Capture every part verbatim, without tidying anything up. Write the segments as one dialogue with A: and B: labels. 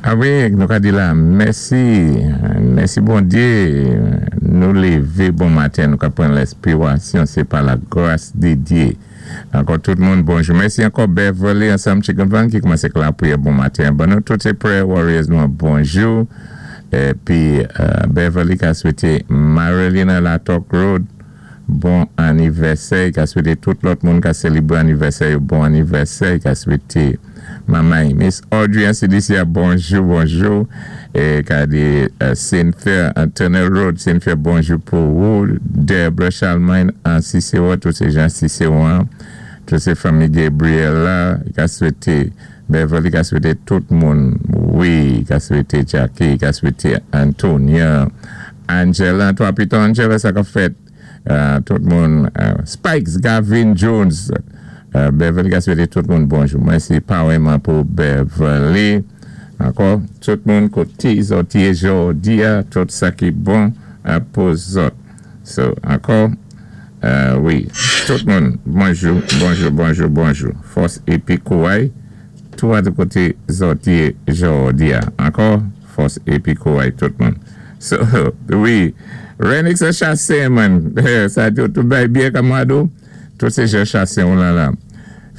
A: A wi, nou ka di la, mèsi, mèsi Bondyé, nou lévé bon maten, nou ka pran lèspirasyon, sé pa la gras di Dyé. Ankò tout moun, bonjou. Mèsi ankò Beverly ansanm Chicken Van ki koumansé ak lapriyè bon maten. Bon, nou tout sé prayer warriors nou, bonjou. Épi Beverly ka swété Marilyn Latok Road, bon anivèsè, ka swété tout lòt moun ka sélébré anivèsè, bon anivèsè, ka swété Mamay, Miss Audrey an C D C, bonjou, bonjou. É ka di Cynthia, Tunnel Road, Cynthia, bonjou pou ou. Deborah Charlemagne an Cicero, tout sé jan Cicero, tout sé fanmi Gabriel la, ka swété Beverly, ka swété tout moun, wi, ka swété Jackie, ka swété Antonia, Angela, toi pito Angela, sa ka fèt, tout moun, Spikes, Gavin Jones, Beverly ka swété tout moun bonjou. Mèsi pareman pou Beverly. Ankò, tout moun koté zòt yé jòdi a, tout sa ki bon pou zòt. So, ankò, wi, tout moun, bonjou, bonjou, bonjou, bonjou. Fòs épi kouway, tou a de koté zòt yé jòdi a. Ankò, fòs épi kouway tout moun. So, wi, Renix a chasé man. Sa tout bay byen kamado. Tout sé jan chasé ou la la.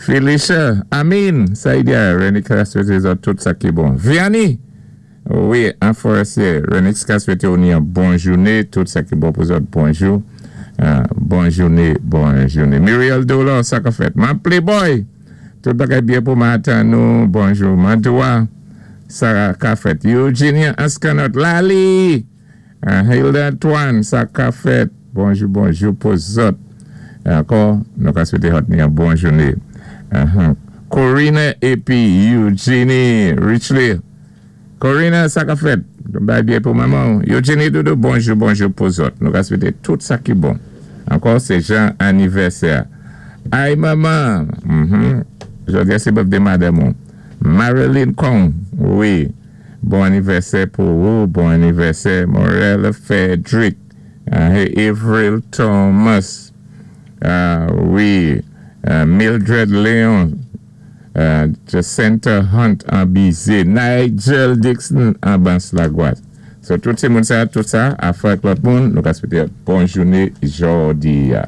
A: Felicia, Amin, sa y di a, Renix ka swété zòt tout sa ki bon. Vianney, wi, an Forestier, Renix ka swété ou ni an bon jouné, tout sa ki bon pou zòt, bonjou. Bon jouné, bon jouné. Muriel Dolan, sa ka fèt. Man Playboy, tout bagay byen pou maten nou, bonjou. Mantoua, sa ka fèt. Eugenia Askanot, Lali, Hilda Antoine, sa ka fèt. Bonjou, bonjou pou zòt. Ankò, nou ka swété zòt ni an bon jouné. Corina épi Eugenie Richley. Corina, sa ka fèt. Bay byen pou manman. Eugenie Doudou, bonjou, bonjou pou zòt. Nou ka swété tout sa ki bon. Ankò, sé jan anivèsè. Ay, manman. Jòdi a sé birthday madanm. Marilyn Kong, wi. Bon anivèsè pou ou. Bon anivèsè Morel Frederick. Avril Thomas. Wi. Mildred Leon. Jacinta Hunt an Bize. Nigel Dixon an Bans Lagwas. So, tout sé moun sa, tout sa, a fèk lòt moun, nou ka swété bon jouné jòdi a.